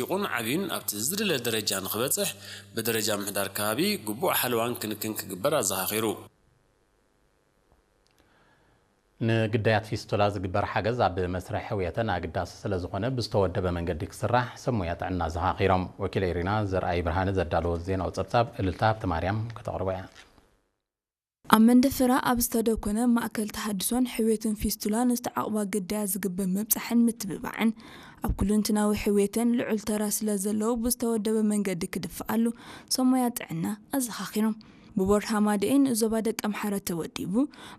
ቁን ዓብዩን ኣብቲ ዝድለ ደረጃ ንክበፅሕ ብደረጃ ምሕዳር ከባቢ ግቡእ ሓለዋን ክንክን ክግበር ኣዘኻኺሩ። ንግዳያት ፊስቱላ ዝግበር ሓገዝ ኣብ መስርሕ ሕውየተን ኣገዳሲ ስለ ዝኾነ ብዝተወደበ መንገዲ ክስራሕ ሰብ ሞያ ጥዕና ኣዘኻኺሮም። ወኪል ኤሪና ዘርኣይ ብርሃነ ዘዳለዎ ዜናዊ ጸብጻብ እልልታ ሃብተ ማርያም ከተቕርቦ እያ። ኣብ መንደፈራ ኣብ ዝተደኮነ ማእከል ተሃድሶን ሕውየትን ፊስቱላ ንዝተዓቑባ ግዳያት ዝግበር ምብጻሕን ምትብባዕን ኣብ ኩሉንትናዊ ሕውየተን ልዑል ተራ ስለ ዘለዎ ብዝተወደበ መንገዲ ክድፍኣሉ ሰብ ሞያ ጥዕና ኣዘኻኺሮም። ብቦርድ ሃማደኤ ንዞባ ደቀምሓረ ተወዲቡ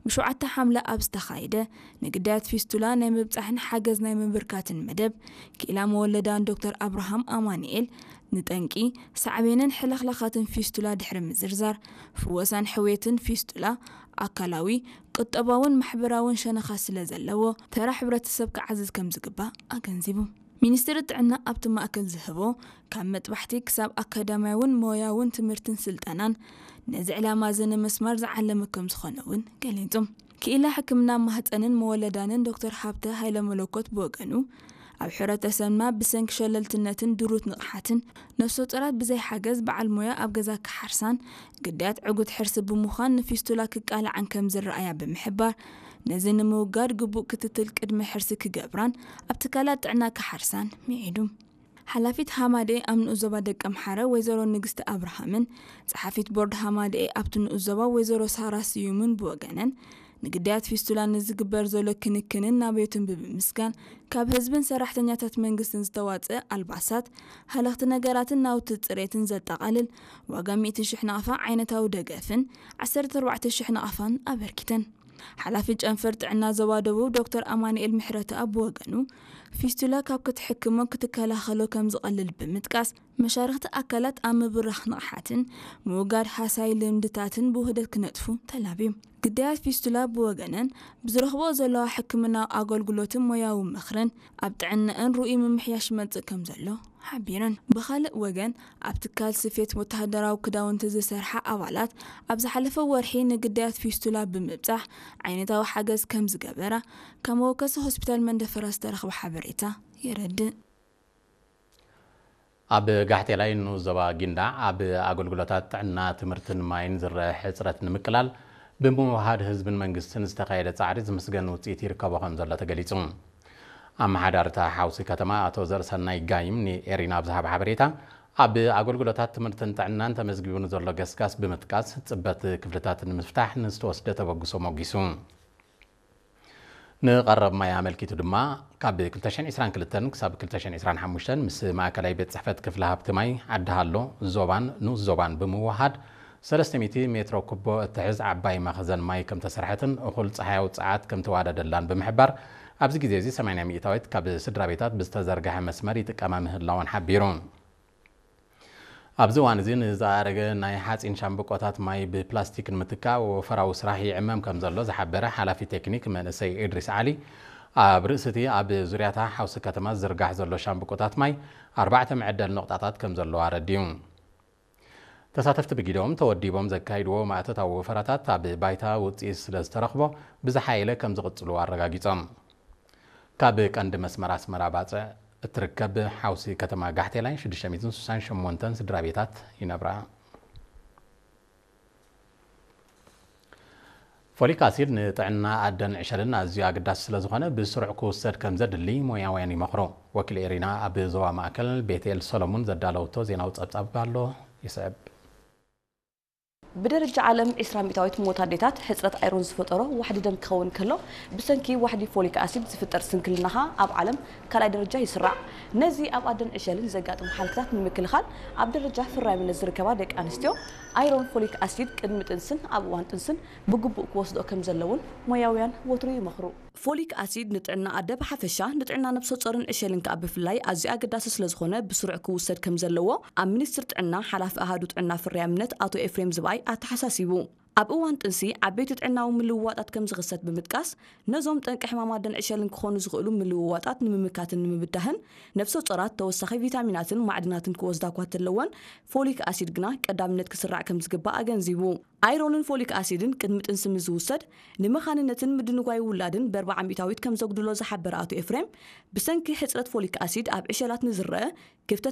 ብሸውዓተ ሓምለ ኣብ ዝተኻየደ ንግዳያት ፊስቱላ ናይ ምብጻሕን ሓገዝ ናይ ምብርካትን መደብ ክኢላ መወለዳን ዶክተር ኣብርሃም ኣማኑኤል ንጠንቂ ሳዕቤንን ሕልኽላኻትን ፊስቱላ ድሕሪ ምዝርዛር ፍወሳን ሕውየትን ፊስቱላ ኣካላዊ ቁጠባውን ማሕበራውን ሸነኻት ስለ ዘለዎ ተራ ሕብረተሰብ ክዓዝዝ ከም ዝግባእ ኣገንዚቡ። ሚኒስትሪ ጥዕና ኣብቲ ማእከል ዝህቦ ካብ መጥባሕቲ ክሳብ ኣካዳሚያውን ሞያውን ትምህርትን ስልጠናን ነዚ ዕላማ እዚ ንምስማር ዝዓለመ ከም ዝኾነ እውን ገሊጹ። ክኢላ ሕክምና ማህፀንን መወለዳንን ዶክተር ሃብተ ሃይለ መለኮት ብወገኑ ኣብ ሕብረተሰብና ብሰንኪ ሸለልትነትን ድሩት ንቕሓትን ነፍሰ ጡራት ብዘይ ሓገዝ በዓል ሞያ ኣብ ገዛ ክሓርሳን ግዳያት ዕጉት ሕርሲ ብምዃን ንፊስቱላ ክቃልዓን ከም ዝረኣያ ብምሕባር ነዚ ንምውጋድ ግቡእ ክትትል ቅድመ ሕርሲ ክገብራን ኣብ ትካላት ጥዕና ክሓርሳን ምዒዱ። ሓላፊት ሃማደኤ ኣብ ንኡስ ዞባ ደቀምሓረ ወይዘሮ ንግስቲ ኣብርሃምን ጸሓፊት ቦርድ ሃማደኤ ኣብቲ ንኡስ ዞባ ወይዘሮ ሳራ ስዩምን ብወገነን ንግዳያት ፊስቱላ ንዝግበር ዘሎ ክንክንን ናብዮትን ብምምስጋን ካብ ህዝብን ሰራሕተኛታት መንግስትን ዝተዋጽእ ኣልባሳት፣ ሃለኽቲ ነገራትን ናውቲ ጽሬትን ዘጠቓልል ዋጋ ሚእቲ ሽሕ ናቕፋ ዓይነታዊ ደገፍን ዓሰርተ ኣርባዕተ ሽሕ ናቕፋን ኣበርኪተን። ሓላፊ ጨንፈር ጥዕና ዞባ ደቡብ ዶክተር ኣማኑኤል ምሕረተኣብ ብወገኑ ፊስቱላ ካብ ክትሕክሞ ክትከላኸሎ ከም ዝቐልል ብምጥቃስ መሻርኽቲ ኣካላት ኣብ ምብራኽ ንቕሓትን ምውጋድ ሃሳይ ልምድታትን ብውህደት ክነጥፉ ተላብዩ። ግዳያት ፊስቱላ ብወገነን ብዝረኽቦ ዘለዋ ሕክምናዊ ኣገልግሎትን ሞያዊ ምኽርን ኣብ ጥዕናኣን ርኡይ ምምሕያሽ ይመጽእ ከም ዘሎ ሓቢረን። ብኻልእ ወገን ኣብ ትካል ስፌት ወተሃደራዊ ክዳውንቲ ዝሰርሓ ኣባላት ኣብ ዝሓለፈ ወርሒ ንግዳያት ፊስቱላ ብምብጻሕ ዓይነታዊ ሓገዝ ከም ዝገበራ ካብ መወከሲ ሆስፒታል መንደፈራ ዝተረኽበ ሓበሬታ የረድእ። ኣብ ጋሕቴላይ ንኡስ ዞባ ጊንዳዕ ኣብ ኣገልግሎታት ጥዕና፣ ትምህርትን ማይን ዝረአ ሕፅረት ንምቅላል ብምውሃድ ህዝብን መንግስትን ዝተኻየደ ፃዕሪ ዝምስገን ውፅኢት ይርከቦ ከም ዘሎ ተገሊፁ። ኣመሓዳሪ እታ ሓውሲ ከተማ ኣቶ ዘርሰናይ ጋይም ንኤሪና ኣብ ዝሃበ ሓበሬታ ኣብ ኣገልግሎታት ትምህርትን ጥዕናን ተመዝጊቡ ንዘሎ ገስጋስ ብምጥቃስ ፅበት ክፍልታት ንምፍታሕ ንዝተወስደ ተበግሶ ሞጊሱ። ንቐረብ ማይ ኣመልኪቱ ድማ ካብ ክልተ ሽሕን ዕስራን ክልተን ክሳብ ክልተ ሽሕን ዕስራን ሓሙሽተን ምስ ማእከላይ ቤት ጽሕፈት ክፍሊ ሃብቲ ማይ ዓዲ ሃሎ ዞባን ንኡስ ዞባን ብምውሃድ ሰለስተ ሚእቲ ሜትሮ ኩቦ እትሕዝ ዓባይ መኽዘን ማይ ከም ተሰርሐትን እኹል ጸሓያዊ ጸዓት ከም ተዋደደላን ብምሕባር ኣብዚ ግዜ እዚ ሰማንያ ሚእታዊት ካብ ስድራ ቤታት ብዝተዘርግሐ መስመር ይጥቀማ ምህላወን ሓቢሩ። ኣብዚ እዋን እዚ ንዝኣረገ ናይ ሓጺን ሻምብቆታት ማይ ብፕላስቲክ ንምትካእ ወፈራዊ ስራሕ ይዕመም ከም ዘሎ ዝሓበረ ሓላፊ ቴክኒክ መንእሰይ ኢድሪስ ዓሊ፣ ኣብ ርእሲ እቲ ኣብ ዙርያታ ሓውሲ ከተማ ዝዝርጋሕ ዘሎ ሻምብቆታት ማይ ኣርባዕተ መዐደሊ ነቑጣታት ከም ዘለዎ ኣረዲኡ። ተሳተፍቲ ብጊዶም ተወዲቦም ዘካይድዎ ማእቶታዊ ወፈራታት ኣብ ባይታ ውጽኢት ስለ ዝተረኽቦ ብዝሓየለ ከም ዝቕጽሉ ኣረጋጊጾም። ካብ ቀንዲ መስመር ኣስመራ ባጽዕ እትርከብ ሓውሲ ከተማ ጋሕቴላይ ሽዱሽተ ሚእትን ስሳን ሸሞንተን ስድራ ቤታት ይነብራ። ፎሊክ ኣሲድ ንጥዕና ኣደን ዕሸልን ኣዝዩ ኣገዳሲ ስለ ዝኾነ ብስሩዕ ክውሰድ ከም ዘድሊ ሞያውያን ይመኽሩ። ወኪል ኤሪና ኣብ ዞባ ማእከል ቤትኤል ሰሎሙን ዘዳለወቶ ዜናዊ ጸብጻብ ኣሎ፣ ይስዕብ። ብደረጃ ዓለም ዕስራ ሚእታዊት ሞት ኣዴታት ሕጽረት ኣይሮን ዝፈጠሮ ዋሕዲ ደም ክኸውን ከሎ፣ ብሰንኪ ዋሕዲ ፎሊክ ኣሲድ ዝፍጠር ስንክልናኻ ኣብ ዓለም ካልኣይ ደረጃ ይስራዕ። ነዚ ኣብ ኣደን ዕሸልን ዘጋጥሙ ሓልክታት ንምክልኻል፣ ኣብ ደረጃ ፍራይምነት ዝርከባ ደቂ ኣንስትዮ ኣይሮን ፎሊክ ኣሲድ ቅድሚ ጥንስን ኣብ እዋን ጥንስን ብግቡእ ክወስድኦ ከም ዘለውን ሞያውያን ወትሩ ይመኽሩ። ፎሊክ ኣሲድ ንጥዕና ኣደ ብሓፈሻ፣ ንጥዕና ነብሰ ጾርን ዕሸልን ከኣ ብፍላይ ኣዝዩ ኣገዳሲ ስለ ዝኾነ፣ ብስሩዕ ክውሰድ ከም ዘለዎ ኣብ ሚኒስትሪ ጥዕና ሓላፊ ኣሃዱ ጥዕና ፍርያምነት ኣቶ ኤፍሬም ዝብኣይ ኣተሓሳሲቡ። ኣብ እዋን ጥንሲ ዓበይቲ ጥዕናዊ ምልውዋጣት ከም ዝኽሰት ብምጥቃስ፣ ነዞም ጠንቂ ሕማም ኣደን ዕሸልን ክኾኑ ዝኽእሉ ምልውዋጣት ንምምካትን ንምብዳህን፣ ነብሰ ጾራት ተወሳኺ ቪታሚናትን ማዕድናትን ክወስዳ እኳ እንተለወን፣ ፎሊክ ኣሲድ ግና ቀዳምነት ክስራዕ ከም ዝግባእ ኣገንዚቡ። ኣይሮንን ፎሊክ ኣሲድን ቅድሚ ጥንሲ ምስ ዝውሰድ፣ ንመኻንነትን ምድንጓይ ውላድን ብኣርብዓ ሚእታዊት ከም ዘጉድሎ ዝሓበረ ኣቶ ኤፍሬም፣ ብሰንኪ ሕጽረት ፎሊክ ኣሲድ ኣብ ዕሸላት ንዝረአ ክፍተት